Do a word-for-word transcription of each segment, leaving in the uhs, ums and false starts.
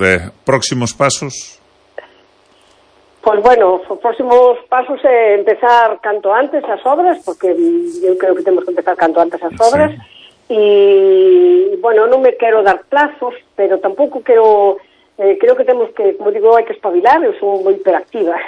eh, próximos pasos? Pois, bueno, os próximos pasos é empezar canto antes as obras, porque eu creo que temos que empezar canto antes as obras, e, sí. bueno, non me quero dar plazos, pero tampouco quero, eh, creo que temos que, como digo, hai que espabilar, eu sou moi hiperactiva,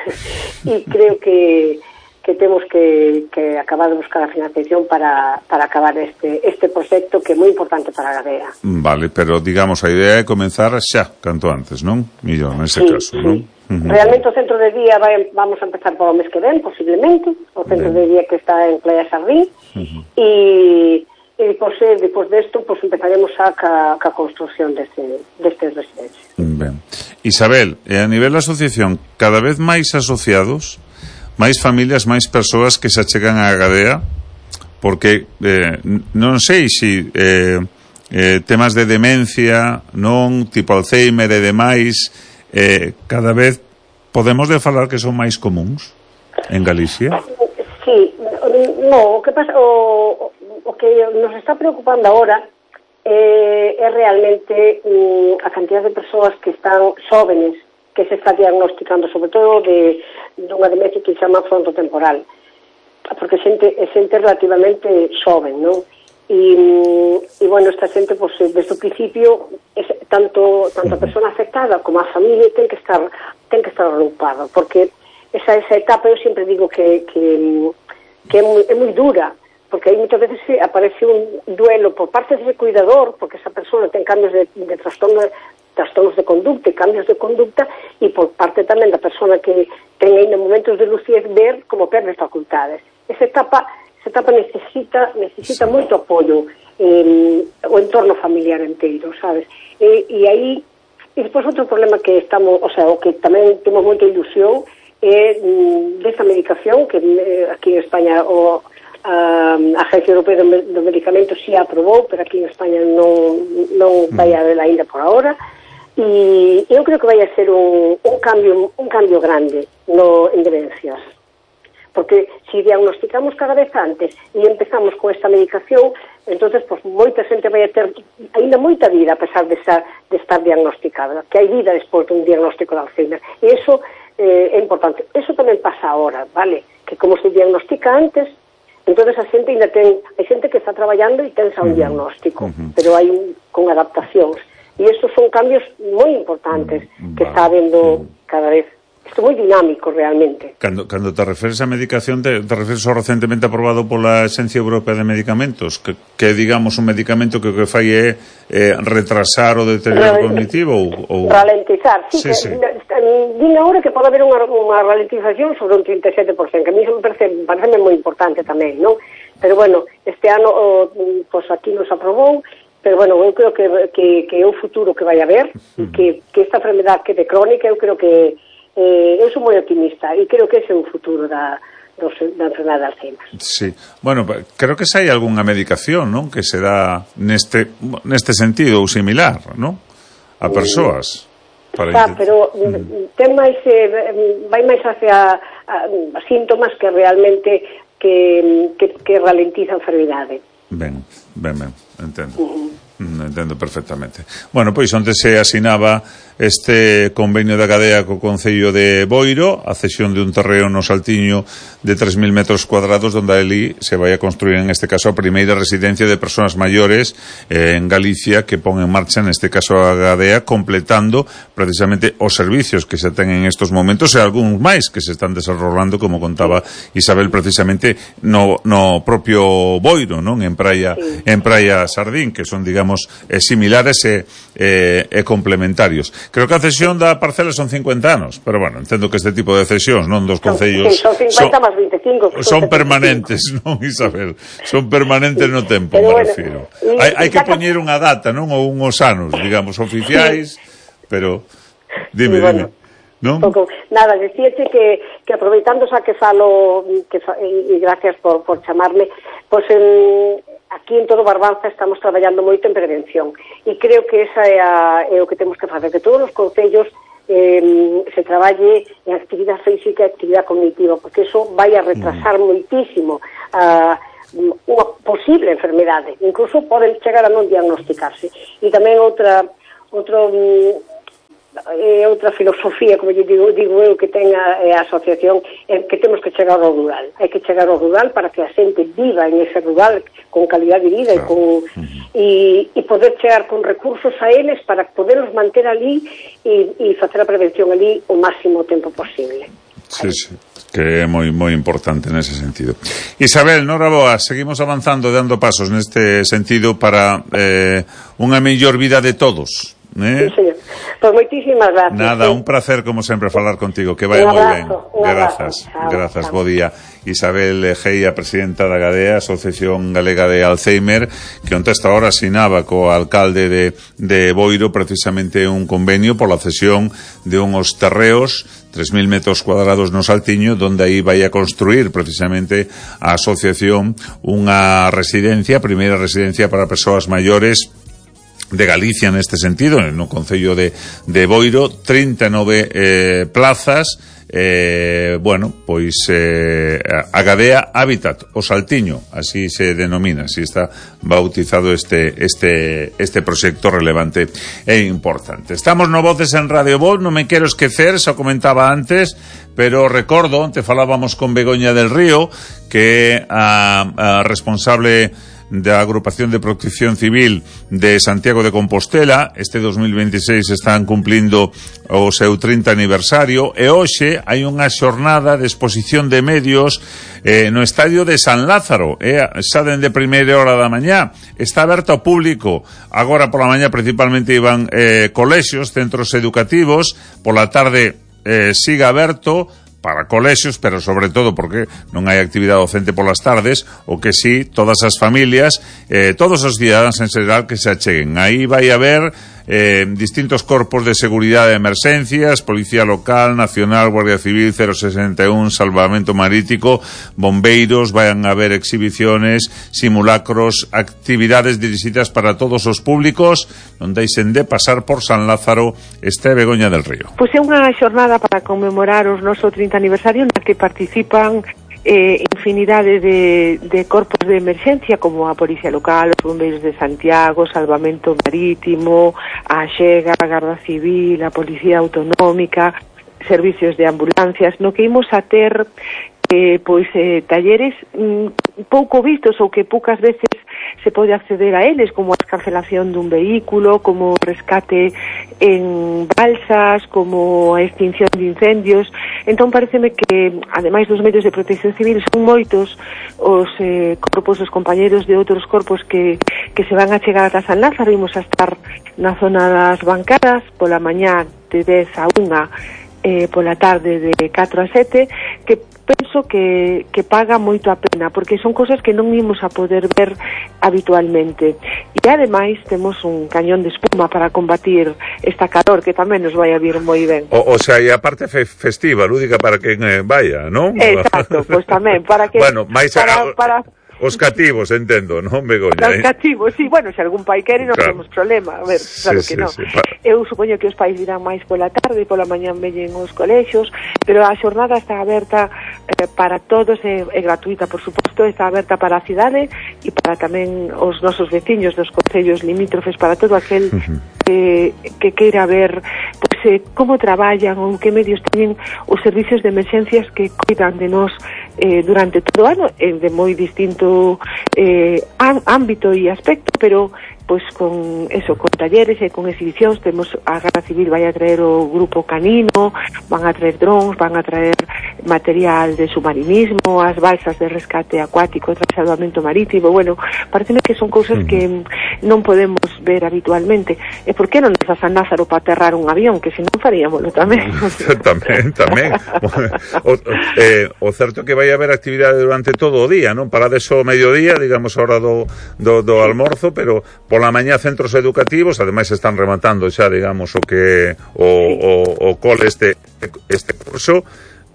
e creo que que temos que, que acabar de buscar a financiación para, para acabar este, este proxecto que é moi importante para a Gadea. Vale, pero digamos, a idea é comenzar xa, canto antes, non? Millón, nese sí, caso, sí. non? Uh-huh. Realmente o centro de día vai, vamos a empezar por o mes que ven, posiblemente, o centro ben. de día que está en Playa Sardín, uh-huh. e, e depois, depois desto, pues, empezaremos a ca, ca construcción deste, deste residencia. Ben. Isabel, e a nivel da asociación, cada vez máis asociados, máis familias, máis persoas que se achegan á Gadea, porque eh, non sei se eh, eh, temas de demencia, non, tipo Alzheimer e demais, eh, cada vez podemos de falar que son máis comuns en Galicia? Sí, no, o que pasa, o, o que nos está preocupando agora eh, é realmente um, a cantidad de persoas que están xóvenes, que se está diagnosticando, sobre todo de dunha demencia que se chama frontotemporal, porque xente, é xente relativamente xoven, non? E, e bueno, esta xente, pues, desde o principio, es, tanto tanto a persona afectada como a familia ten que estar ten que estar agrupada, porque esa, esa etapa, eu sempre digo que, que, que é, moi, é moi dura, porque aí moitas veces aparece un duelo por parte dese cuidador, porque esa persona ten cambios de, de trastorno trastornos de conducta e cambios de conducta, e por parte tamén da persona que ten ainda momentos de lucidez ver como perde facultades. Esa etapa, esa etapa necesita necesita moito apoio, eh, o entorno familiar inteiro, sabes? E, e aí, e despois outro problema que estamos, o sea, o que tamén temos moita ilusión é mm, desta medicación que eh, aquí en España o a Agencia Europea do Medicamento si a aprobou, pero aquí en España non, non vai a ver ainda por ahora. E eu creo que vai a ser un, un cambio un cambio grande no, en demencias, porque se si diagnosticamos cada vez antes e empezamos con esta medicación, entonces pues, moita xente vai a ter ainda moita vida a pesar de estar, de estar diagnosticada, que hai vida despois dun diagnóstico de Alzheimer, e iso eh, é importante. Eso tamén pasa ahora, vale? Que como se diagnostica antes, entonces a xente ainda ten, hai xente que está traballando e ten xa un diagnóstico, uh-huh. pero hai un, con adaptacións. E estos son cambios moi importantes mm, que vale. está habendo cada vez. Isto é moi dinámico realmente. Cando, cando te referes a medicación, te, te referes ao recentemente aprobado pola Agencia Europea de Medicamentos, que, que digamos un medicamento que o que fai é eh, retrasar o deterioro Re, cognitivo ou, ou... Ralentizar, sí, sí, que sí. Din agora que pode haber unha, unha ralentización sobre un trinta e sete por cento, que a mí me parece, parece moi importante tamén, non? Pero bueno, este ano o, pues aquí nos aprobou, pero bueno, eu creo que, que, que é o futuro que vai haber, e que, que esta enfermedad que de crónica, eu creo que eh, eu sou moi optimista, e creo que ese é o futuro da, dos, da enfermedad de Alzheimer. Sí, bueno, creo que se hai algunha medicación, non? Que se dá neste, neste sentido ou similar, non? A persoas. Para Está, pero mm. ten máis, eh, vai máis hacia a, a síntomas que realmente que, que, que ralentiza a enfermidade. Ben, ben, ben, entendo. Uh-huh. Entendo perfectamente. Bueno, pois onte se asinaba este convenio da Gadea co Concello de Boiro, a cesión de un terreo no Saltiño de tres mil metros cuadrados, onde ali se vai a construir, en este caso, a primeira residencia de persoas maiores eh, en Galicia, que pon en marcha, en este caso, a Gadea, completando precisamente os servicios que se ten en estos momentos e algúns máis que se están desarrollando, como contaba Isabel, precisamente no, no propio Boiro, non? En Praia, sí. en Praia Sardín, que son, digamos, Eh, similares e, eh, e complementarios. Creo que a cesión da parcela son cincuenta anos, pero bueno, entendo que este tipo de cesións, non dos concellos, sí, son cincuenta máis vinte e cinco, son permanentes, non, Isabel? Son permanentes no tempo, pero me bueno, refiro. Hai, hai que poñer unha data, non? Ou uns anos, digamos, oficiais, pero dime, bueno, dime. Non? Pouco, nada, decíache que, que aproveitando xa que falo que fa, e, e gracias por, por chamarme, pois pues, en aquí en todo Barbanza estamos traballando moito en prevención e creo que esa é, a, é o que temos que facer, que todos os concellos eh, se traballe en actividade física e actividade cognitiva, porque eso vai a retrasar mm. moitísimo a unha posible enfermedade, incluso poden chegar a non diagnosticarse. E tamén outra outro outra filosofía, como lle digo, digo eu, que ten a, a asociación, é que temos que chegar ao rural. Hai que chegar ao rural para que a xente viva en ese rural con calidad de vida e, con, e, e poder chegar con recursos a eles para poderlos manter ali e, e facer a prevención ali o máximo tempo posible. Sí, sí, que é moi moi importante nese sentido. Isabel, noraboa, seguimos avanzando, dando pasos neste sentido para eh, unha mellor vida de todos. ¿Eh? Sí, señor. Pues moitísimas gracias. Nada, sí. Un placer como sempre falar contigo, que vai moi ben. Grazas, grazas, bo día. Isabel Geia, presidenta da Gadea, Asociación Galega de Alzheimer, que onte esta hora asinaba co alcalde de, de Boiro precisamente un convenio por la cesión de unhos terreos, tres mil metros cuadrados no Saltiño, donde aí vai a construir precisamente a asociación unha residencia, a primeira residencia para persoas maiores de Galicia neste sentido, no concello de, de Boiro, trinta e nove eh, plazas, eh, bueno, pois eh, a Gadea Habitat, o Saltiño, así se denomina, así está bautizado este este este proxecto relevante e importante. Estamos no Voces en Radio Voz, non me quero esquecer, xa comentaba antes, pero recordo, onte falábamos con Begoña del Río, que é a, a responsable da Agrupación de Protección Civil de Santiago de Compostela. Este dos mil veintiséis están cumplindo o seu trinta aniversario e hoxe hai unha xornada de exposición de medios eh, no estadio de San Lázaro, eh, xa dende primeira hora da mañá. Está aberto ao público. Agora pola mañá principalmente iban eh, colexios, centros educativos, pola tarde eh, siga aberto para colexios, pero sobre todo porque non hai actividade docente polas tardes, o que sí, todas as familias, eh, todos os cidadáns en xeral que se acheguen. Aí vai haber eh, distintos corpos de seguridade de emerxencias, Policía Local, Nacional, Guardia Civil, cero sesenta e un, Salvamento Marítimo, bombeiros, vayan a haber exhibiciones, simulacros, actividades dirixidas para todos os públicos, non deixen de pasar por San Lázaro. Este Begoña del Río. Pois é unha xornada para conmemorar os noso trinta aniversario na que participan eh, infinidade de, de corpos de emerxencia como a Policía Local, os Bombeiros de Santiago, Salvamento Marítimo, a Xega, a Garda Civil, a Policía Autonómica, servicios de ambulancias, no que imos a ter eh, pois eh, talleres mm, pouco vistos ou que poucas veces se pode acceder a eles, como a escarcelación dun vehículo, como rescate en balsas, como a extinción de incendios. Entón pareceme que, ademais dos medios de protección civil, son moitos os eh, corpos, os compañeros de outros corpos que, que se van a chegar ata San Lázaro. Imos a estar na zona das bancadas pola mañá de dez a unha, eh, pola tarde de catro a sete, que penso que, que paga moito a pena, porque son cosas que non imos a poder ver habitualmente. E ademais temos un cañón de espuma para combatir esta calor que tamén nos vai a vir moi ben. O, o sea, e a parte fe festiva, lúdica para quen eh, vaya, non? Exacto, pois pues tamén, para que... Bueno, máis para, para... os cativos, entendo, non, Begoña? Os cativos, sí, bueno, se algún pai quere non claro. temos problema, a ver, claro sí, que sí, non. Sí, pa... Eu supoño que os pais virán máis pola tarde e pola mañán veñen os colexios, pero a xornada está aberta eh, para todos, é, é gratuita, por suposto, está aberta para a cidade e para tamén os nosos veciños dos concellos limítrofes, para todo aquel uh-huh. que, que queira ver pues, eh, como traballan ou que medios teñen os servicios de emerxencias que cuidan de nós eh, durante todo o ano, eh, de moi distinto eh, ámbito e aspecto, pero pois con eso, con talleres e con exhibicións. Temos a Garda Civil vai a traer o grupo canino, van a traer drons, van a traer material de submarinismo, as balsas de rescate acuático, de salvamento marítimo. Bueno, pareceme que son cousas que non podemos ver habitualmente. E por que non nos a San Lázaro para aterrar un avión, que se non faríamoslo tamén. tamén, tamén. o, eh, o certo que vai haber actividade durante todo o día, non? Para deso mediodía, digamos, a hora do, do, do almorzo, pero pola mañá centros educativos, ademais están rematando xa, digamos, o que o, o, o cole este este curso,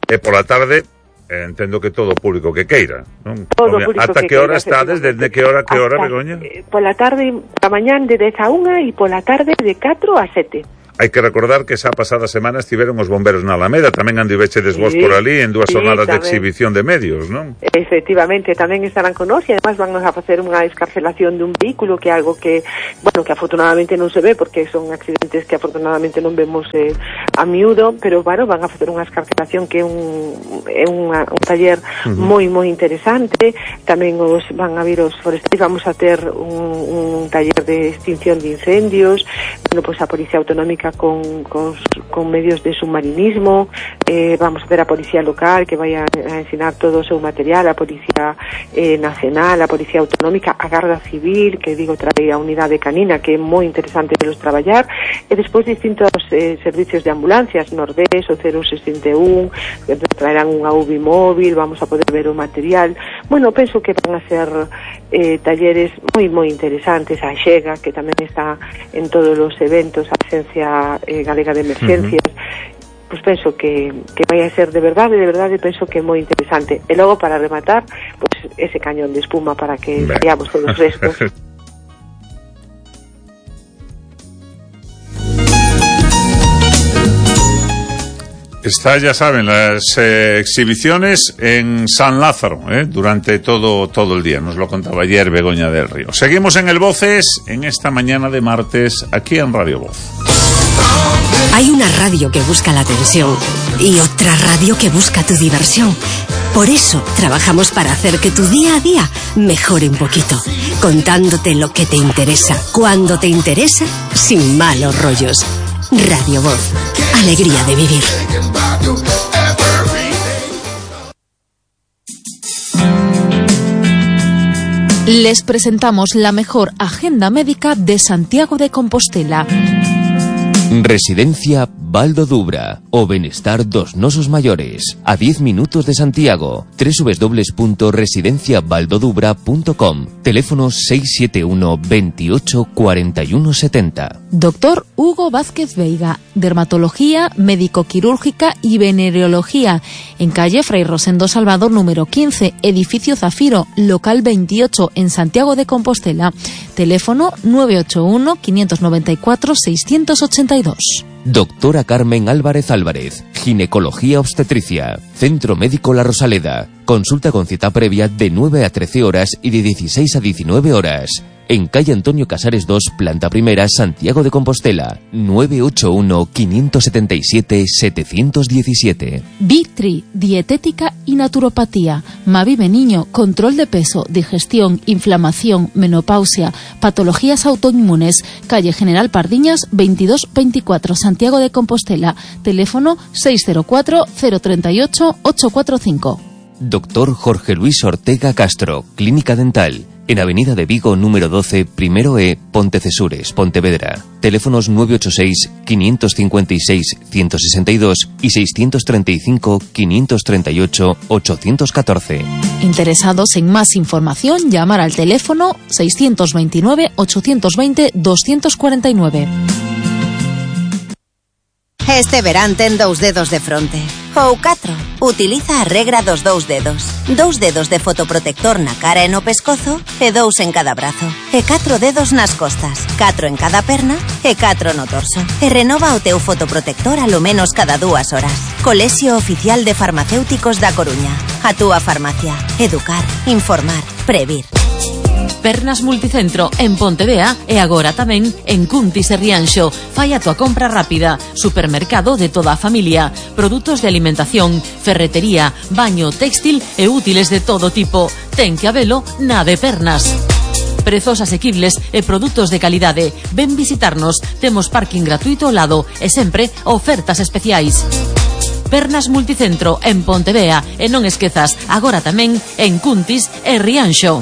e pola tarde eh, entendo que todo o público que queira, non? Todo o público ata que, que hora estades, desde que hora que hora, Begoña? Eh, pola tarde, pola mañán de dez a unha e pola tarde de catro a sete. Hai que recordar que esa pasada semana estiveron os bomberos na Alameda, tamén andivechedes vos sí, por ali en dúas sí, jornadas tamén. de exhibición de medios, non? Efectivamente, tamén estarán con nós e además van a facer unha escarcelación dun vehículo, que é algo que, bueno, que afortunadamente non se ve, porque son accidentes que afortunadamente non vemos eh, a miúdo, pero, bueno, van a facer unha escarcelación que é un, é unha, un taller uh-huh. moi, moi interesante. Tamén os van a vir os forestais, vamos a ter un, un taller de extinción de incendios, bueno, pois a Policía Autonómica con, con, con medios de submarinismo, eh, vamos a ter a Policía Local que vai a, a ensinar todo o seu material, a Policía eh, Nacional, a Policía Autonómica, a Garda Civil, que digo trae a unidade canina, que é moi interesante pelos traballar, e despois distintos eh, servicios de ambulancias, Nordés, o cero sesenta e un, que traerán unha U B I móvil, vamos a poder ver o material. Bueno, penso que van a ser eh, talleres moi, moi interesantes. A Xega, que tamén está en todos os eventos, a Agencia eh, Galega de Emergencias, uh-huh. pues penso que, que vai a ser de verdade, de verdade, penso que é moi interesante. E logo, para rematar, pues ese cañón de espuma para que veamos todos os restos. Está, ya saben, las eh, exhibiciones en San Lázaro, eh, durante todo, todo el día. Nos lo contaba ayer Begoña del Río. Seguimos en el Voces en esta mañana de martes, aquí en Radio Voz. Hay una radio que busca la atención y otra radio que busca tu diversión. Por eso trabajamos para hacer que tu día a día mejore un poquito, contándote lo que te interesa, cuando te interesa, sin malos rollos. Radio Voz, alegría de vivir. Les presentamos la mejor agenda médica de Santiago de Compostela. Residencia Baldo Dubra, o Benestar dos Nosos Mayores, a diez minutos de Santiago. doble u doble u doble u punto residencia baldo dubra punto com. Teléfono seis siete uno, veintiocho, cuarenta y uno setenta. Doctor Hugo Vázquez Veiga, dermatología, médico-quirúrgica y venereología, en calle Fray Rosendo Salvador número quince, edificio Zafiro, local veintiocho, en Santiago de Compostela. Teléfono nueve ocho uno, quinientos noventa y cuatro, seiscientos ochenta y dos. Doctora Carmen Álvarez Álvarez, ginecología obstetricia, Centro Médico La Rosaleda, consulta con cita previa de nueve a trece horas y de dieciséis a diecinueve horas. En calle Antonio Casares dos, planta primera, Santiago de Compostela, nueve ocho uno, quinientos setenta y siete, setecientos diecisiete. Vitri, dietética y naturopatía. Mavive Niño, control de peso, digestión, inflamación, menopausia, patologías autoinmunes. Calle General Pardiñas, veintidós veinticuatro, Santiago de Compostela. Teléfono seis cero cuatro, cero tres ocho, ocho cuatro cinco. Doctor Jorge Luis Ortega Castro, Clínica Dental, en Avenida de Vigo número doce, primero E, Pontecesures, Pontevedra. Teléfonos nueve ocho seis, quinientos cincuenta y seis, ciento sesenta y dos y seiscientos treinta y cinco, quinientos treinta y ocho, ochocientos catorce. Interesados en más información, llamar al teléfono seiscientos veintinueve, ochocientos veinte, doscientos cuarenta y nueve. Este verán ten dous dedos de fronte. Ou catro. Utiliza a regra dos dous dedos. Dous dedos de fotoprotector na cara e no pescozo e dous en cada brazo. E catro dedos nas costas. Catro en cada perna e catro no torso. E renova o teu fotoprotector a lo menos cada dúas horas. Colexio Oficial de Farmacéuticos da Coruña. A túa farmacia. Educar, informar, previr. Pernas Multicentro en Pontevea e agora tamén en Cuntis e Rianxo. Fai a tua compra rápida. Supermercado de toda a familia. Produtos de alimentación, ferretería, baño, textil e útiles de todo tipo. Ten que habelo na de Pernas. Prezos asequibles e produtos de calidade. Ven visitarnos. Temos parking gratuito ao lado e sempre ofertas especiais. Pernas Multicentro en Pontevea e non esquezas, agora tamén en Cuntis e Rianxo.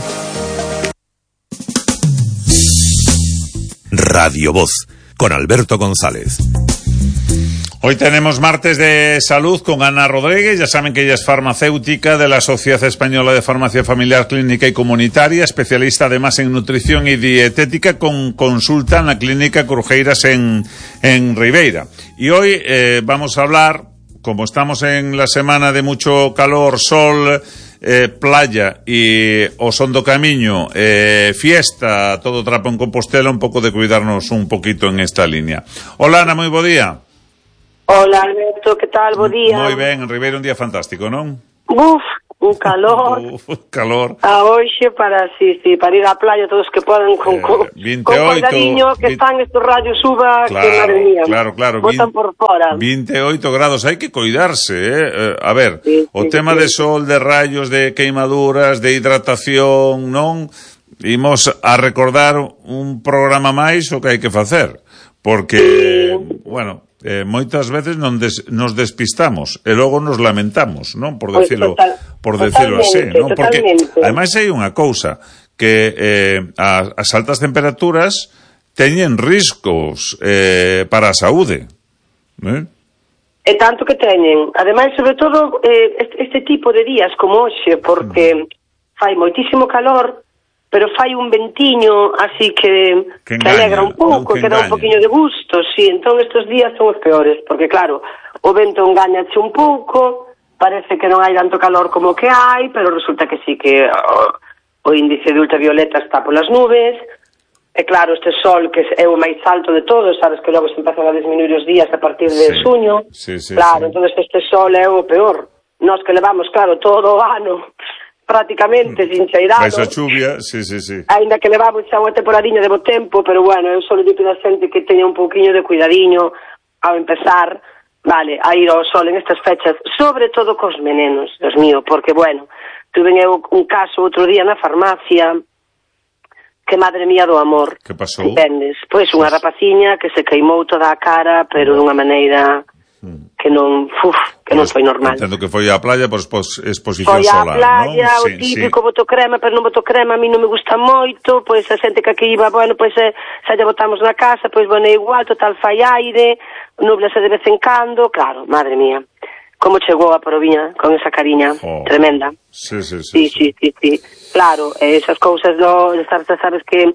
Radio Voz, con Alberto González. Hoy tenemos martes de salud con Ana Rodríguez. Ya saben que ella es farmacéutica de la Sociedad Española de Farmacia Familiar, Clínica y Comunitaria, especialista además en nutrición y dietética, con consulta en la Clínica Curjeiras en, en Ribeira. Y hoy eh, vamos a hablar, como estamos en la semana de mucho calor, sol, Eh, playa y o son do camiño, eh, fiesta, todo trapo en Compostela, un pouco de cuidarnos un poquito en esta línea. Hola, Ana, moi bo día. Hola, Alberto, que tal? Bo día. Moi ben, en Ribeira un día fantástico, non? Uf, un calor. Uf, calor. A hoxe para, sí, sí, para ir á playa todos que podan con, eh, con, veintiocho, con cuidadiño que veinte, están estos rayos uva claro, que madre mía. Claro, claro. Botan por fora. veintiocho grados, hai que cuidarse, eh? eh a ver, sí, o sí, tema sí. de sol, de rayos, de queimaduras, de hidratación, non? Imos a recordar un programa máis o que hai que facer, porque, sí. bueno, eh, moitas veces non des, nos despistamos e logo nos lamentamos, non? Por decirlo, Total, por decirlo así, non? Porque totalmente. ademais hai unha cousa que eh, as, as altas temperaturas teñen riscos eh, para a saúde, eh? E tanto que teñen. Ademais, sobre todo, eh, este, este tipo de días como hoxe, porque mm. fai moitísimo calor, pero fai un ventiño así que, que, que alegra un pouco, que, que dá un poquinho de gusto, sí, entón estes días son os peores, porque claro, o vento engañache un pouco, parece que non hai tanto calor como que hai, pero resulta que sí que o, o índice de ultravioleta está polas nubes, e claro, este sol que é o máis alto de todos, sabes que logo se empezan a disminuir os días a partir de sí, xuño, sí, sí, claro, sí. entón este sol é o peor, nós que levamos, claro, todo o ano prácticamente sin cheirado. Vais a chuvia, sí, sí, sí. Ainda que levamos xa unha temporadiña de bo tempo, pero bueno, eu só le digo a xente que teña un pouquiño de cuidadiño ao empezar, vale, a ir ao sol en estas fechas, sobre todo cos venenos, Dios mío, porque bueno, tuve eu un caso outro día na farmacia, que madre mía do amor. Que pasou? Entendes? Pois unha rapaciña que se queimou toda a cara, pero dunha maneira que non, uf, que non foi normal. Entendo que foi á playa por exposición foi solar, non? Foi á playa, ¿no? o sí, típico, sí. boto crema, pero non boto crema, a mí non me gusta moito, pois a xente que aquí iba, bueno, pois eh, xa lle botamos na casa, pois bueno, é igual, total fai aire, nublase de vez en cando, claro, madre mía, como chegou a Proviña con esa cariña oh. tremenda. Sí, sí, Sí, sí. sí, sí, sí. Claro, esas cousas, do, sabes, sabes que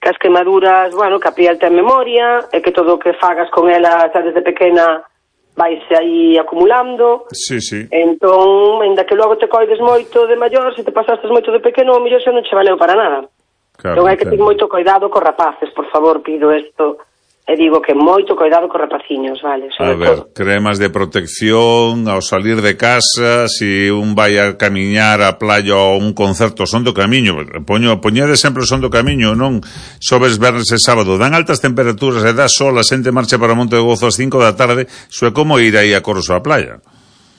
que as quemaduras, bueno, que a piel ten memoria, e que todo o que fagas con ela, sabes, desde pequena, vaise aí acumulando. Sí, sí. Entón, ainda que logo te coides moito de maior, se te pasastes moito de pequeno, o mellor xa non che valeu para nada. Claro, entón hai que ter moito cuidado cos rapaces, por favor, pido isto. E digo que moito cuidado cos rapaciños, vale? Sobre a ver, todo. Cremas de protección ao salir de casa, si un vai a camiñar á playa ou un concerto son do camiño, poño, poñede sempre o son do camiño, non sobes vernes e sábado, dan altas temperaturas e dá sol, a xente marcha para Monte de Gozo ás cinco da tarde, iso é como ir aí a Corso á playa.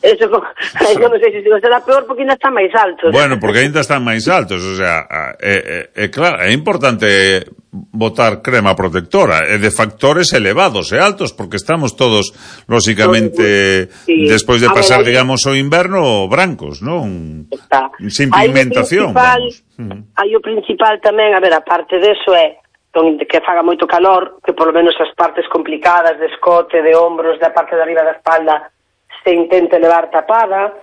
Eso, eu non sei se será peor porque ainda están máis altos. Bueno, porque ainda están máis altos, o sea, é, é, é claro, é importante botar crema protectora, e de factores elevados e altos, porque estamos todos, lóxicamente, sí. despois de pasar, ver, digamos, o inverno, brancos, non? Está. Sin pigmentación, vamos. Hai o principal tamén, a ver, a parte deso é que faga moito calor, que por lo menos as partes complicadas de escote, de ombros, da parte de arriba da espalda, se intente levar tapada,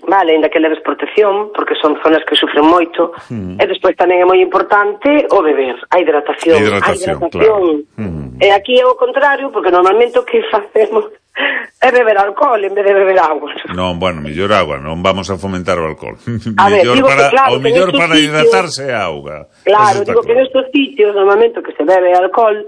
vale, ainda que leves protección, porque son zonas que sufren moito, mm. e despois tamén é moi importante o beber, a hidratación. Hidratación, a hidratación. Claro. Mm. E aquí é o contrario, porque normalmente o que facemos é beber alcohol en vez de beber agua. Non, bueno, mellor agua, non vamos a fomentar o alcohol. A ver, digo para, que claro, o mellor para sitios, hidratarse é auga. Claro, digo claro. Que nestes sitios, normalmente, que se bebe alcohol,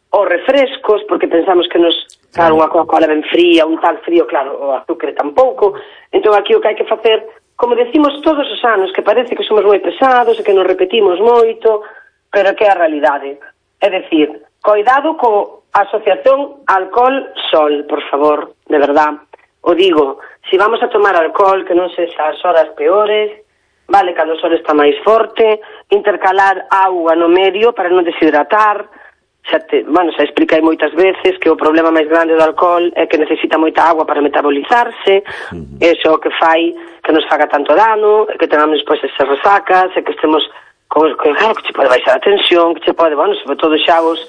ou refrescos, porque pensamos que nos, claro, unha Coca-Cola ben fría, un tal frío, claro, o azúcar tampouco. Entón aquí o que hai que facer, como decimos todos os anos, que parece que somos moi pesados e que nos repetimos moito, pero que é a realidade. É dicir, cuidado co asociación alcohol-sol, por favor, de verdad. O digo, se si vamos a tomar alcohol, que non sexa as horas peores, vale, cando o sol está máis forte, intercalar auga no medio para non deshidratar. Xa te, bueno, xa expliquei moitas veces que o problema máis grande do alcohol é que necesita moita agua para metabolizarse, uh-huh. Eso que fai que nos faga tanto dano, que tengamos despois esas resacas, e que estemos con, con claro, que che pode baixar a tensión, que che pode, bueno, sobre todo xa os,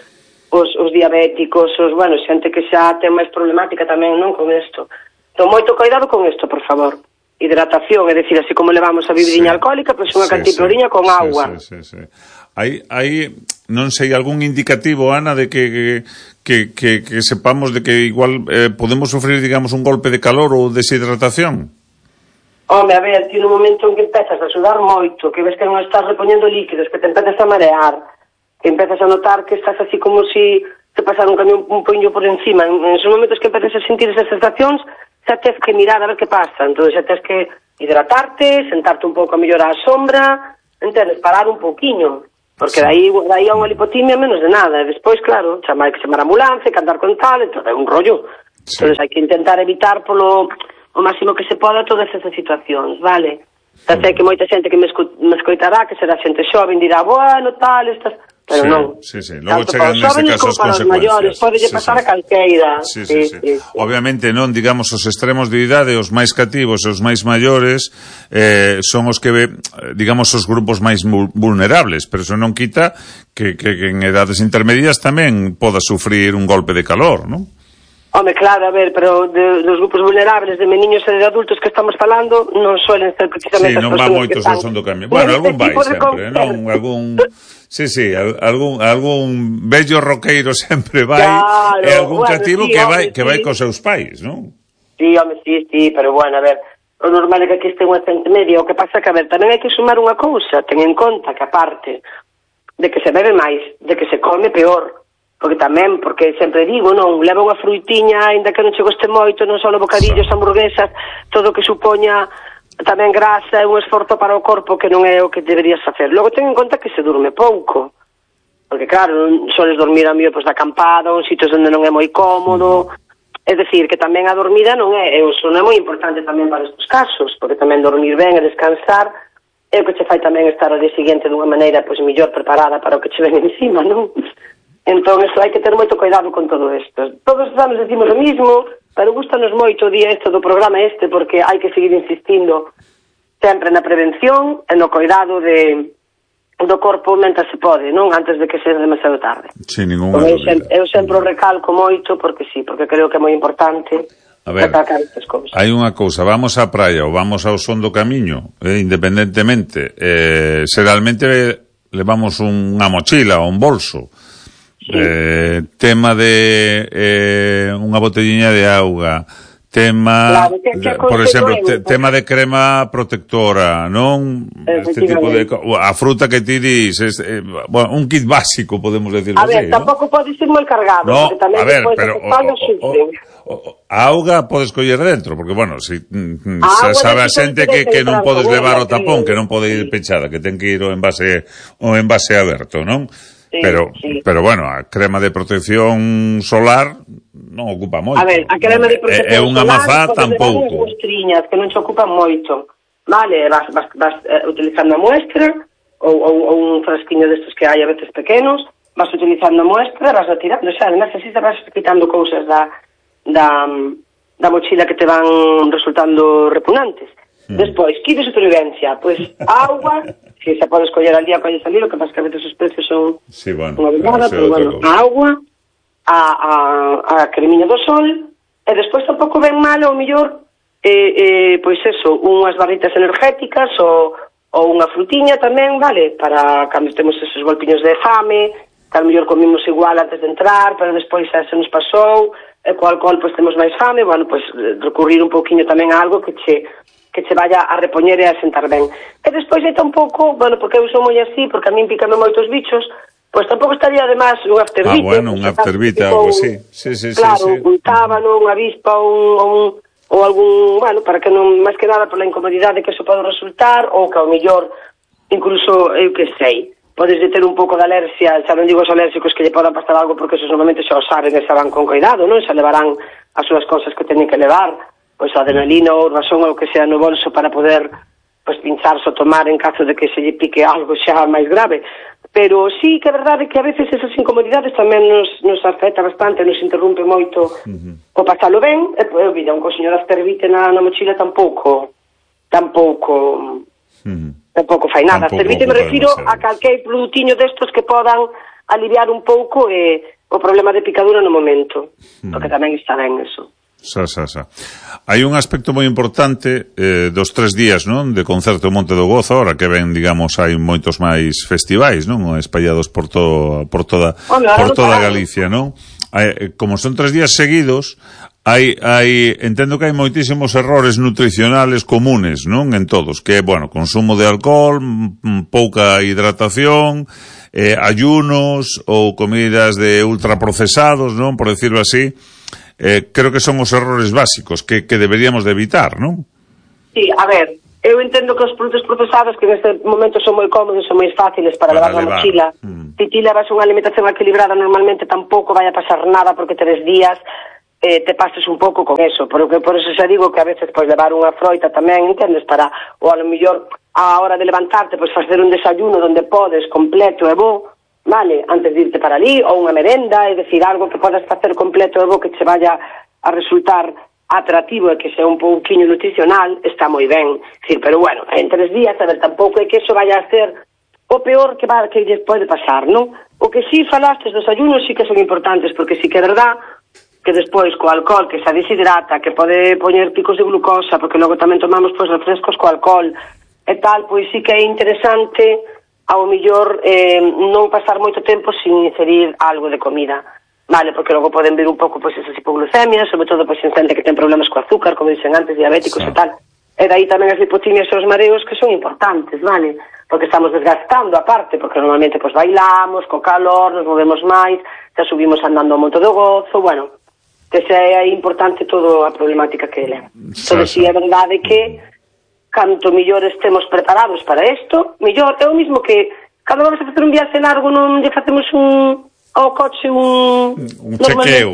os, os diabéticos, os, bueno, xente que xa ten máis problemática tamén, non, con isto. Entón, moito cuidado con isto, por favor. Hidratación, é dicir, así como levamos a bebidinha sí. alcohólica, pois unha sí, cantiploriña sí. con sí, agua. Sí, sí, sí. Hai, hai, non sei, algún indicativo, Ana, de que, que, que, que sepamos de que igual eh, podemos sufrir, digamos, un golpe de calor ou deshidratación? Home, a ver, ti no momento en que empezas a sudar moito, que ves que non estás repoñendo líquidos, que te empezas a marear, que empezas a notar que estás así como si te pasara un camión un poño por encima, en, en esos momentos que empezas a sentir esas sensacións, xa tens que mirar a ver que pasa, entón xa tens que hidratarte, sentarte un pouco a mellor á sombra, entendes, parar un pouquiño, porque dai, dai a unha lipotimia menos de nada, e despois, claro, chamar que chamar a ambulancia, que andar con tal, entón é un rollo, sí. Entón hai que intentar evitar polo o máximo que se poda todas esas situacións, vale? Xa sei que moita xente que me, escu me escoitará, que será xente xoven, dirá, bueno, tal, estas... Pero sí, non. Sí, sí. Logo chegan neste caso as consecuencias. Maiores, pode sí, pasar sí. a calqueira. Sí, sí, sí, sí. sí. Obviamente non, digamos, os extremos de idade, os máis cativos e os máis maiores eh, son os que, digamos, os grupos máis vulnerables, pero eso non quita que, que, que en edades intermedias tamén poda sufrir un golpe de calor, non? Home, claro, a ver, pero de, dos grupos vulnerables de meniños e de adultos que estamos falando non suelen ser precisamente sí, non as va persoas moitos que están... son do cambio. Bueno, algún vai sempre, non? Algún... Sí, sí, algún algún bello roqueiro sempre vai claro, e algún bueno, cativo sí, que vai home, que vai sí. cos seus pais, non? Sí, home, sí, sí, pero bueno, a ver, o normal é que aquí este unha xente media, o que pasa que, a ver, tamén hai que sumar unha cousa, ten en conta que aparte de que se bebe máis, de que se come peor, porque tamén, porque sempre digo, non, leva unha fruitiña, aínda que non che goste moito, non só bocadillos, sí. hamburguesas, todo o que supoña tamén grasa, é un esforzo para o corpo que non é o que deberías facer. Logo ten en conta que se durme pouco, porque claro, non soles dormir a mío pois, da acampada, ou en sitios onde non é moi cómodo, é dicir, que tamén a dormida non é, e o sono é moi importante tamén para estes casos, porque tamén dormir ben e descansar é o que che fai tamén estar ao día seguinte dunha maneira pois mellor preparada para o que che ven encima, non? Entón, eso hai que ter moito cuidado con todo isto. Todos os anos decimos o mismo, pero gustanos moito o día este do programa este, porque hai que seguir insistindo sempre na prevención e no cuidado de, do corpo mentre se pode, non? Antes de que seja demasiado tarde. Sin ninguna eu, sempre, eu sempre o recalco moito, porque sí, porque creo que é moi importante a ver, hai unha cousa, vamos á praia ou vamos ao son do camiño, eh, independentemente, eh, se realmente levamos unha mochila ou un bolso, sí. eh, tema de eh, unha botelliña de auga, tema, claro, que, que por exemplo, te, tema de crema protectora, non? Este tipo de a fruta que ti dis, es, eh, bueno, un kit básico, podemos decirlo así. A ver, así, tampouco ¿no? pode ser moi cargado, no, porque tamén a ver, despois pero de que paga sufren. A auga podes coller dentro, porque, bueno, si ah, sabe a xente que, que non podes levar o tapón, que non pode ir pechada, que ten que ir o envase o envase aberto, non? Sí, pero, sí. pero bueno, a crema de protección solar non ocupa moito. A ver, a crema de protección é unha mazá tampouco. As muestriñas que non se ocupan moito. Vale, vas, vas, vas uh, utilizando a muestra ou, ou, ou un frasquiño destes que hai a veces pequenos, vas utilizando a muestra, vas a tirar, o sea, además así te vas quitando cousas da da, da mochila que te van resultando repugnantes. Mm. Despois, kit de supervivencia, pois pues, agua, que se pode escoller al día colle salir, o que pasa que a veces os precios son sí, bueno, unha verdade, pero bueno, a agua, a, a, a cremiña do sol, e despois tampouco ven mal, ou mellor, eh, eh, pois eso, unhas barritas energéticas, ou, ou unha frutiña tamén, vale, para cando temos esos golpiños de fame, que ao mellor comimos igual antes de entrar, pero despois xa se nos pasou, e co alcohol pois temos máis fame, bueno, pois recurrir un pouquiño tamén a algo que che que che vaya a repoñer e a sentar ben. E despois é tampouco, bueno, porque eu sou moi así, porque a min pícame moitos bichos, pois tampouco estaría además un afterbite. Ah, bueno, un afterbite, algo así. Sí, sí, claro, sí, sí. un tábano, unha avispa, un, un, ou algún, bueno, para que non, máis que nada pola incomodidade que eso pode resultar, ou que ao mellor, incluso, eu que sei, podes de ter un pouco de alerxia, xa non digo os alérxicos que lle podan pasar algo, porque esos normalmente xa o saben e xa van con cuidado, non? Xa levarán as súas cosas que teñen que levar, pois adrenalina ou razón ou que sea no bolso para poder pois pincharse ou tomar en caso de que se lle pique algo xa máis grave. Pero sí que é verdade que a veces esas incomodidades tamén nos, nos afecta bastante, nos interrumpe moito uh-huh. o pasalo ben, e pois, vida, un cosiño de afterbite na, na mochila tampouco, tampouco... Uh-huh. Tampouco fai nada. Servite me refiro a calquer produtiño destos que podan aliviar un pouco eh, o problema de picadura no momento, mm. porque tamén está ben eso. Xa, xa, xa. Hai un aspecto moi importante eh, dos tres días, non? De concerto Monte do Gozo, ahora que ven, digamos, hai moitos máis festivais, non? Espallados por todo, por toda, Hola, por toda Galicia, non? Hai, como son tres días seguidos, hai, hai, entendo que hai moitísimos errores nutricionales comunes, non? En todos, que é, bueno, consumo de alcohol, m- pouca hidratación, eh, ayunos ou comidas de ultraprocesados, non? Por decirlo así. eh, creo que son os errores básicos que, que deberíamos de evitar, non? Sí, a ver, eu entendo que os produtos procesados que neste momento son moi cómodos, son moi fáciles para, para levar na mochila. Mm. Se ti levas unha alimentación equilibrada, normalmente tampouco vai a pasar nada porque tres días eh, te pases un pouco con eso, porque por eso xa digo que a veces pois levar unha froita tamén, entendes, para, ou a lo mellor a hora de levantarte, pois facer un desayuno donde podes, completo e bo, vale, antes de irte para ali, ou unha merenda, é dicir, algo que podas facer completo e bo que che vaya a resultar atractivo e que sea un pouquinho nutricional, está moi ben. Sí, pero bueno, en tres días, a ver, tampouco é que eso vaya a ser o peor que va, que lles pode pasar, non? O que sí falastes dos ayunos sí que son importantes, porque sí que é verdad que despois co alcohol que se deshidrata, que pode poñer picos de glucosa, porque logo tamén tomamos pois refrescos co alcohol e tal, pois sí que é interesante ao millor eh, non pasar moito tempo sin inserir algo de comida. Vale, porque logo poden ver un pouco pois esas hipoglucemias, sobre todo pois en xente que ten problemas co azúcar, como dicen antes, diabéticos sí. E tal. E daí tamén as lipotimias e os mareos que son importantes, vale? Porque estamos desgastando aparte, porque normalmente pois bailamos, co calor, nos movemos máis, xa subimos andando ao monte do gozo, bueno, que xa é importante toda a problemática que ele. Entón, si é verdade que canto mellor estemos preparados para isto, mellor é o mismo que cando vamos a facer un viaxe largo non lle facemos un ao coche un... Un chequeo.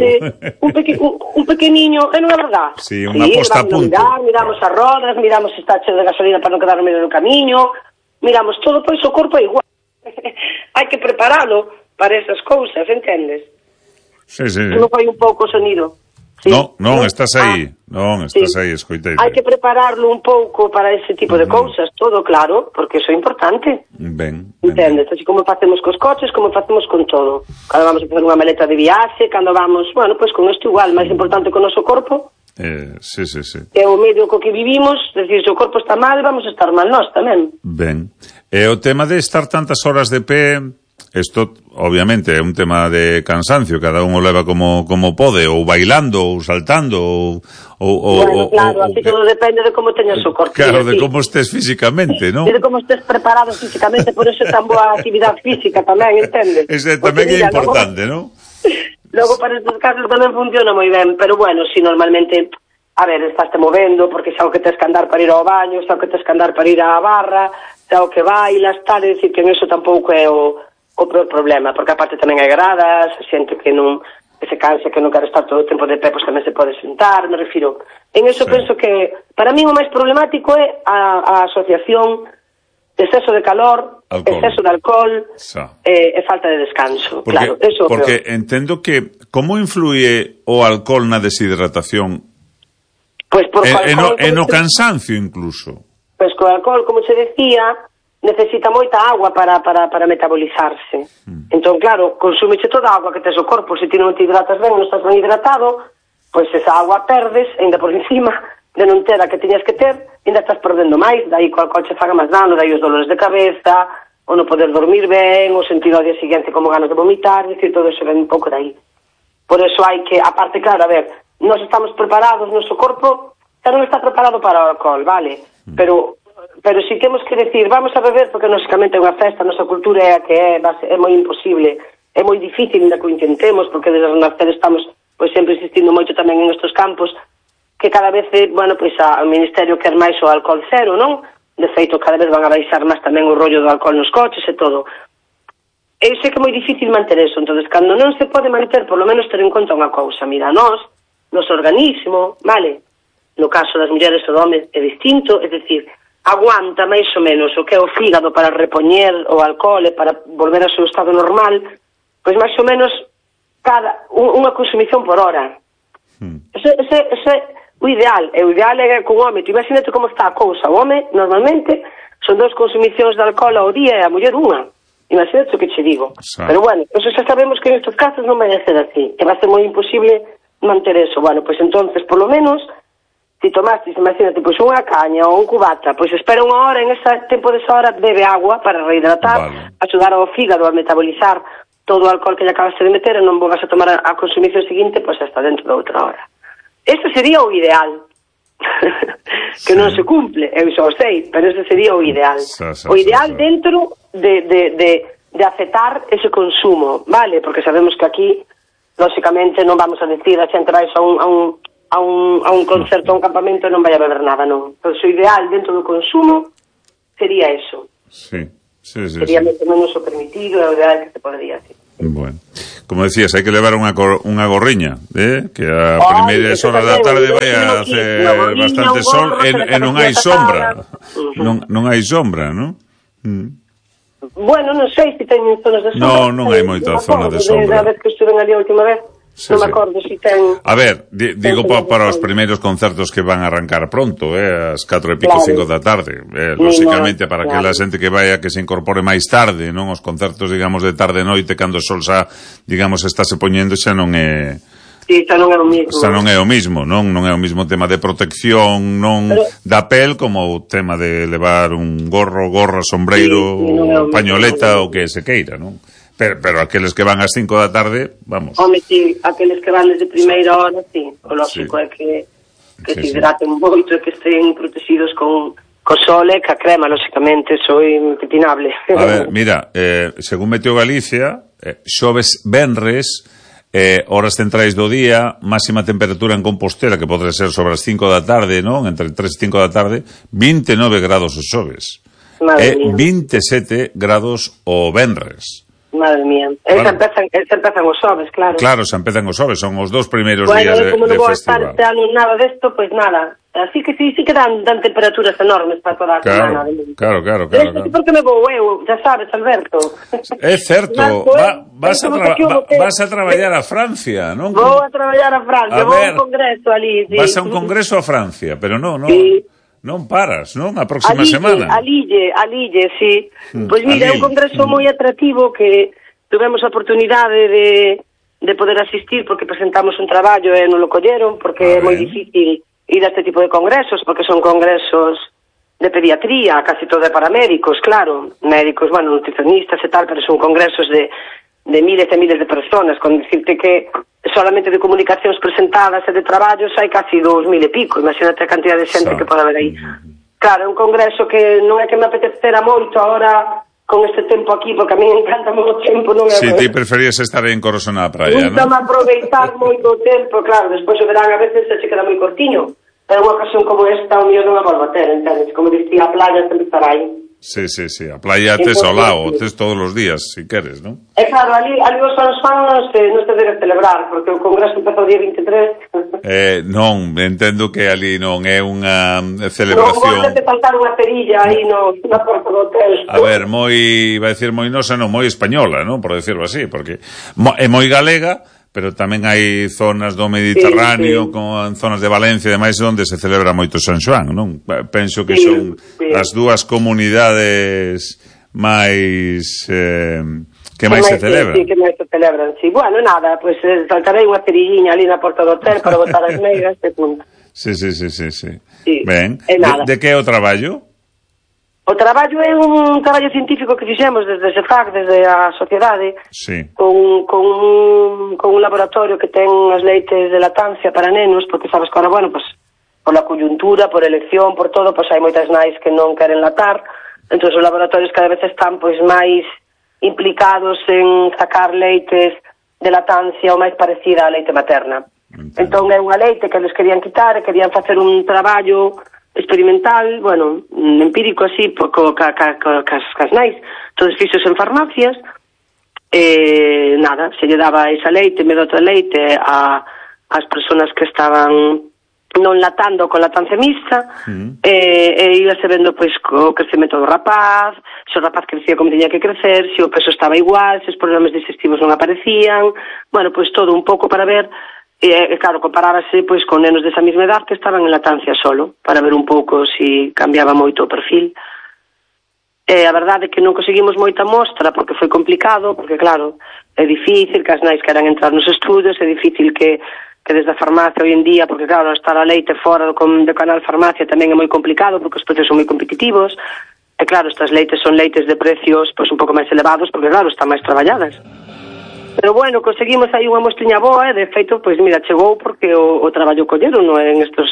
Un, peque, un, un pequeniño, é non é verdad? Sí, unha sí, posta a punto. Mirar, miramos as rodas, miramos se está cheo de gasolina para non quedar no medio do camiño, miramos todo, pois o corpo é igual. Hai que preparalo para esas cousas, entendes? Sí, sí. Non foi un pouco o sonido. Sí. No, non, estás aí, ah, non, estás sí. aí, escoitei. Hai que prepararlo un pouco para ese tipo de cousas, todo claro, porque iso é importante. Ben, entendes? Así como facemos cos coches, como facemos con todo. Cando vamos a facer unha maleta de viaxe, cando vamos, bueno, pois pues con isto igual, máis importante que o noso corpo. Eh, sí, sí, sí. É o medio co que vivimos, decir, se o corpo está mal, vamos a estar mal nós tamén. Ben. E o tema de estar tantas horas de pé, isto obviamente é un tema de cansancio, cada un o leva como como pode, ou bailando, ou saltando, ou... ou bueno, claro, así todo depende de como teñas o corpo. Claro, de como estés físicamente, non? E de como estés preparado físicamente, por eso é tan boa actividade física tamén, entendes? Ese tamén é importante, non? Logo para estes casos tamén funciona moi ben, pero bueno, si normalmente, a ver, estás te movendo, porque xa o que tes que andar para ir ao baño, xa o que tes que andar para ir á barra, xa o que bailas, tal, é dicir que en eso tampouco é o o problema, porque aparte tamén hai gradas, xente que non que se cansa, que non quere estar todo o tempo de pé, pois tamén se pode sentar, me refiro. En eso sí. Penso que, para mí o máis problemático é a, a asociación de exceso de calor, alcohol. Exceso de alcohol e, e falta de descanso. Porque, claro, eso porque entendo que, como influye o alcohol na deshidratación? Pois por e, e, no, e no cansancio incluso. Pois co alcohol, como se decía, necesita moita agua para, para, para metabolizarse. Mm. Entón, claro, consúmeche toda a agua que tes o corpo, se ti non te hidratas ben, non estás ben hidratado, pois esa agua perdes, ainda por encima de non ter a que tiñas que ter, ainda estás perdendo máis, dai co alcohol che faga máis dano, dai os dolores de cabeza, ou non poder dormir ben, ou sentir ao día seguinte como ganas de vomitar, dicir, todo eso ven un pouco dai. Por eso hai que, aparte, claro, a ver, nós estamos preparados, noso corpo xa non está preparado para o alcohol, vale? Mm. Pero pero si temos que decir, vamos a beber, porque lógicamente é unha festa, a nosa cultura é a que é, é moi imposible, é moi difícil ainda que o intentemos, porque desde o nacer estamos pois sempre insistindo moito tamén en estes campos, que cada vez, bueno, pois a, o Ministerio quer máis o alcohol cero, non? De feito, cada vez van a baixar máis tamén o rollo do alcohol nos coches e todo. Eu sei que é moi difícil manter eso, entonces, cando non se pode manter, por lo menos ter en conta unha cousa, mira, nós, nos organismo, vale, no caso das mulleres o do home é distinto, é dicir, aguanta máis ou menos o que é o fígado para repoñer o alcohol e para volver ao seu estado normal, pois máis ou menos cada unha consumición por hora. Hmm. Ese, ese, ese o ideal, e o ideal é que un home, tu imagínate como está a cousa, o home normalmente son dos consumicións de alcohol ao día e a muller unha. Imagínate o que che digo. Sí. Pero bueno, eso xa sabemos que en estes casos non vai a ser así, que vai ser moi imposible manter eso. Bueno, pois entonces, por lo menos, si tomastes, imagínate, pois unha caña ou un cubata, pois espera unha hora, en ese tempo desa hora bebe agua para rehidratar, vale. Axudar ao fígado a metabolizar todo o alcohol que lle acabaste de meter e non volvas a tomar a, a consumición seguinte, pois hasta dentro de outra hora. Este sería o ideal. Que sí. Non se cumple, eu xa o sei, pero ese sería o ideal. Sa, sa, o ideal sa, sa. Dentro de, de, de, de aceptar ese consumo, vale? Porque sabemos que aquí lóxicamente non vamos a decir a xente vai a un, a un, a un, a un concerto, a un campamento e non vai a beber nada, non. Pois o ideal dentro do consumo sería eso. Sí, sí, sí. Sería sí. menos o permitido, é o ideal que se podría, sí. Bueno, como decías, hai que levar unha, unha gorriña, eh? Que a Ay, primeiras horas da tarde vai a hacer bastante sol e, e non hai sombra. Non, non hai sombra, non? Mm. Bueno, non sei se teñen zonas de sombra. No, non hai moita zona de sombra. A vez que estuve ali a última vez, sí, non me acordo se si ten... A ver, di, digo pa, para os primeiros concertos que van a arrancar pronto, eh, ás catro e pico, cinco da tarde. Eh, lóxicamente, para que a xente que vai a que se incorpore máis tarde, non? Os concertos, digamos, de tarde e noite, cando o sol xa, digamos, está se poñendo, xa non é... Sí, xa non é o mismo. Xa non é o mismo, non? Non é o mismo tema de protección, non pero, da pel, como o tema de levar un gorro, gorra, sombreiro, sí, sí, no pañoleta, o que se queira, non? Pero, pero aqueles que van ás cinco da tarde, vamos. Home, sí, aqueles que van desde primeira hora, sí. O lógico sí. é que, que sí, se hidraten sí. moito e que estén protegidos con, co sol e ca crema, lógicamente, soy impepinable. A ver, mira, eh, según Meteo Galicia, eh, xoves venres, eh, horas centrais do día, máxima temperatura en Compostela, que podrá ser sobre as cinco da tarde, non? Entre tres e cinco da tarde, vinte e nove grados os xoves. Madre e mía. vinte e sete grados o venres. Madre mía. Claro. Esa empezan, esa empezan os xoves, claro. Claro, se empezan os xoves, son os dos primeiros bueno, días de, como de non vou festival. estar este ano nada desto, pois pues nada. Así que sí, sí que dan, dan temperaturas enormes para toda a claro, semana. Claro, claro, claro. Pero claro. Porque me vou eu, ya sabes, Alberto. É certo, va, vas, a tra va, vas a traballar a Francia, non? Vou a traballar a Francia, a vou a un congreso ali. Sí. Vas a un congreso a Francia, pero non, non. Sí. Non paras, non? A próxima Alille, semana. Alille, Alille, sí. Mm, pois mira, é un congreso mm. moi atractivo que tuvemos a oportunidade de, de poder asistir porque presentamos un traballo e non lo colleron porque é moi difícil ir a este tipo de congresos porque son congresos de pediatría, casi todo é para médicos, claro, médicos, bueno, nutricionistas e tal, pero son congresos de, de miles e miles de personas, con decirte que solamente de comunicacións presentadas e de traballos hai casi dous mil e pico, imagínate a cantidad de xente so. que pode haber aí. Claro, é un congreso que non é que me apetecera moito agora con este tempo aquí, porque a mí me encanta moito tempo, non é? Si, ti preferías estar en Corosona na praia, non? Gusta-me aproveitar moito o tempo, claro, despois o verán a veces se queda moi cortiño, pero unha ocasión como esta o mío non a volvo a ter, entendes? Como dicía, a playa sempre estará aí. Sí, sí, sí, a playa tes ao lado, tes todos os días, si queres, non? É claro, ali, ali os fans fan non se, non se debe celebrar, porque o congreso empezou o día vinte e tres. Eh, non, entendo que ali non é unha celebración... Non, vou faltar unha cerilla aí no, na porta do hotel. A ver, moi, vai dicir moi nosa, non, moi española, non? Por decirlo así, porque é moi galega, pero tamén hai zonas do Mediterráneo, sí, sí. con zonas de Valencia e demais, onde se celebra moito San Xoán, non? Penso que sí, son sí. as dúas comunidades máis eh, que máis se celebran. Sí, sí, que máis se celebran, sí. Bueno, nada, pois pues, saltarei unha cerilliña ali na porta do hotel para botar as meigas, este punto. Sí, sí, sí, sí, sí. sí. Ben, de, de que é o traballo? O traballo é un traballo científico que fixemos desde ese F A C, desde a sociedade, sí. con, con, un, con un laboratorio que ten as leites de lactancia para nenos, porque sabes que ahora, bueno, pues, por la coyuntura, por elección, por todo, pues hai moitas nais que non queren latar, entón os laboratorios cada vez están pois máis implicados en sacar leites de lactancia o máis parecida á leite materna. Entiendo. Entón é unha leite que les querían quitar e querían facer un traballo experimental, bueno, empírico así, co, ca, ca, ca, cas, cas nais, todos fixos en farmacias, e nada, se lle daba esa leite, me outra leite a as persoas que estaban non latando con lactancia mixta, mm. e, e íbase vendo pois o crecemento do rapaz, se o rapaz crecía como tenía que crecer, se o peso estaba igual, se os problemas digestivos non aparecían, bueno, pois todo un pouco para ver. E, claro, comparábase pois con nenos desa mesma edad que estaban en lactancia solo, para ver un pouco se si cambiaba moito o perfil. E a verdade é que non conseguimos moita mostra porque foi complicado, porque claro, é difícil que as nais queran entrar nos estudos, é difícil que, que desde a farmacia hoy en día, porque claro, estar a leite fora do, do canal farmacia tamén é moi complicado porque os precios son moi competitivos, e claro, estas leites son leites de precios pois un pouco máis elevados porque claro, están máis traballadas. Pero bueno, conseguimos aí unha mostriña boa e de feito, pois mira, chegou porque o, o traballo colleron no, en estos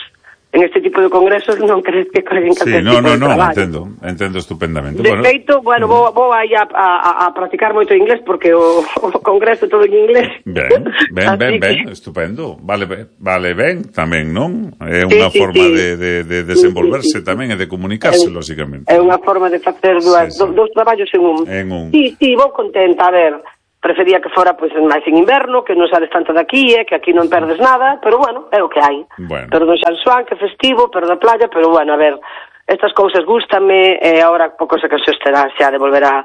en este tipo de congresos non crees que collen sí, calquer no, tipo no, de no, traballo. entendo, entendo estupendamente. De bueno, feito, bueno, vou, vou aí a, a, a practicar moito inglés porque o, o congreso todo en inglés. Ben, ben, ben, ben, que... estupendo. Vale, vale ben tamén, non? É sí, unha sí, forma sí. De, de, de desenvolverse sí, sí, sí. tamén e de comunicarse, É, lógicamente. É unha forma de facer dúas, sí, sí. dous traballos en un. En un. Sí, sí, vou contenta, a ver... Prefería que fora pois máis en inverno, que non sales tanto daqui, eh, que aquí non perdes nada, pero bueno, é o que hai. Bueno. Perdo San Xoán, que festivo, perdo a playa, pero bueno, a ver, estas cousas gústame, e eh, agora pouco se que se estará xa de volver a...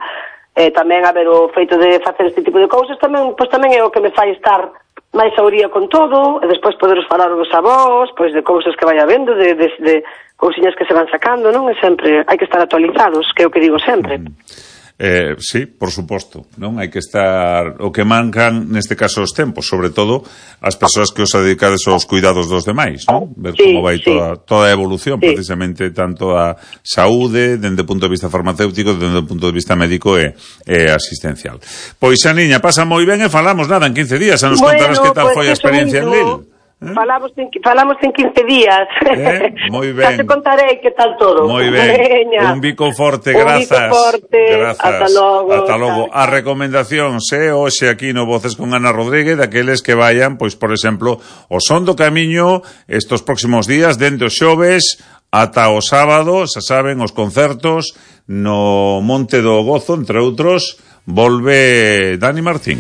Eh, tamén a ver o feito de facer este tipo de cousas, tamén, pois tamén é o que me fai estar máis a oría con todo, e despois poderos falar dos avós, pois de cousas que vai habendo, de, de, de cousiñas que se van sacando, non? E sempre hai que estar actualizados, que é o que digo sempre. Mm. Eh, sí, por suposto, non? Hai que estar o que mancan neste caso os tempos, sobre todo as persoas que os dedicades aos cuidados dos demais, non? Ver sí, como vai sí. toda, toda a evolución, sí. precisamente tanto a saúde, dende o punto de vista farmacéutico, dende o punto de vista médico e, e asistencial. Pois a niña pasa moi ben e falamos nada en quince días, a nos bueno, contarás que tal pues foi a experiencia en Lille. ¿Eh? Falamos, en, falamos en quince días. Eh, moi ben. Ya te contarei que tal todo. Moi ben. Veña. Un bico forte, Un grazas. bico forte. Grazas. Ata logo. Ata logo. A recomendación se hoxe aquí no Voces con Ana Rodríguez, daqueles que vayan, pois, por exemplo, o Son do Camiño estos próximos días, dende os xoves ata o sábado, xa saben, os concertos no Monte do Gozo, entre outros, volve Dani Martín.